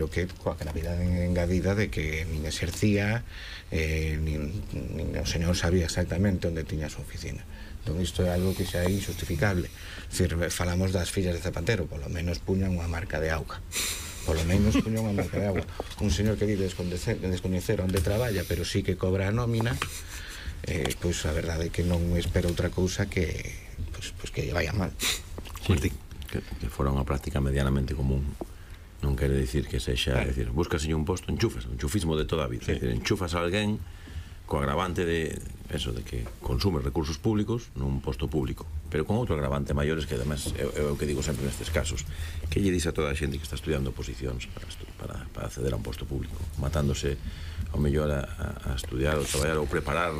pero que coa gravidade engadida de que nin exercía, nin o señor sabía exactamente onde tiña a súa oficina. Entón isto é algo que xa é injustificable. Falamos das fillas de Zapatero, polo menos puñan unha marca de auga. Polo menos puñan unha marca de auga. Un señor que vive descoñecer onde traballa, pero sí que cobra a nómina, pois a verdade é que non espero outra cousa que que lle vaya mal. Sí, que fora unha práctica medianamente común. Non quere dicir que sexa, buscase un posto, enchufas, o enchufismo de toda a vida, enchufas a alguén co agravante de eso, de que consume recursos públicos nun posto público, pero con outro agravante maiores que además é o que digo sempre nestes casos, que lle dis a toda a xente que está estudiando oposicións para acceder a un posto público, matándose ao mellor a estudiar ou traballar ou preparar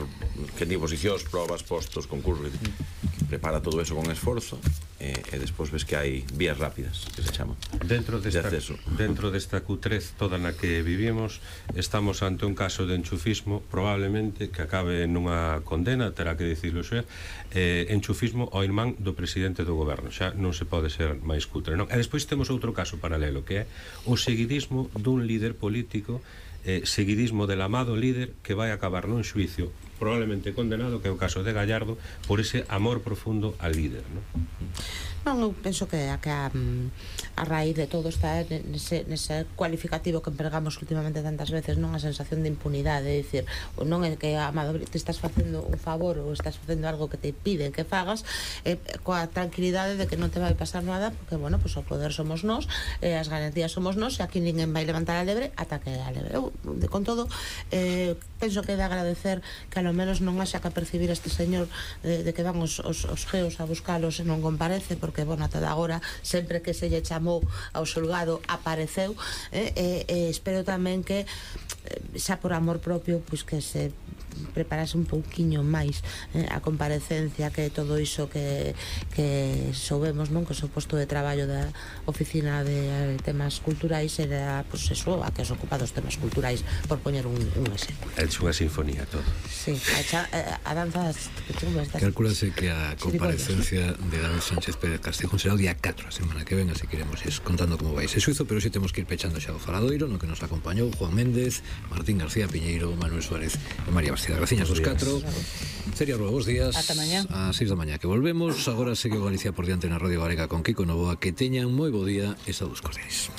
que di oposicións, probas, postos, concursos, que prepara todo eso con esforzo, e despois ves que hai vías rápidas, que se chaman, dentro de acceso. Dentro desta cutrez toda na que vivimos, estamos ante un caso de enchufismo probablemente que acabe nunha condena, terá que dicirlo xa, enchufismo ao irmán do presidente do goberno, xa non se pode ser máis cutre, non? E despois temos outro caso paralelo, que é o seguidismo dun líder político, seguidismo del amado líder que vai acabar nun xuicio probablemente condenado, que é o caso de Gallardo, por ese amor profundo al líder, non? Non, eu penso que a raíz de todo está nese cualificativo que empregamos últimamente tantas veces, non, a sensación de impunidade, é dicir, non é que amado, te estás facendo un favor ou estás facendo algo que te piden que fagas, coa tranquilidade de que non te vai pasar nada, porque, bueno, pues o poder somos nós, as garantías somos nós, e aquí ninguén vai levantar a lebre ata que a lebre. Eu, con todo, penso que é de agradecer que a lo menos non haxa que percibir este señor de que van os geos a buscalos e non comparece, porque, bueno, ata agora sempre que se lle chamou ao xulgado apareceu, espero tamén que xa por amor propio, pois que se preparase un pouquiño máis a comparecencia, que todo iso que soubemos, non, que o seu posto de traballo da oficina de temas culturais era, pois, eso, a que se ocupa dos temas culturais, por poñer un exemplo. É unha sinfonía todo. Sí, a danza calculase que a comparecencia de David Sánchez Pérez Castejón será o día 4 a semana que ven, así que iremos contando como vai ese suizo, pero si temos que ir pechando xa o faladoiro, no que nos acompañou Juan Méndez, Martín García Piñeiro, Manuel Suárez e María Bastida. Graciñas dos 4. Sería Rúa, bons días. Ata mañá. A 6 da mañá que volvemos. Agora segue Galicia por diante na Radio Galega con Kiko Novoa. Que teñan moi bo día e saúdos cordiais.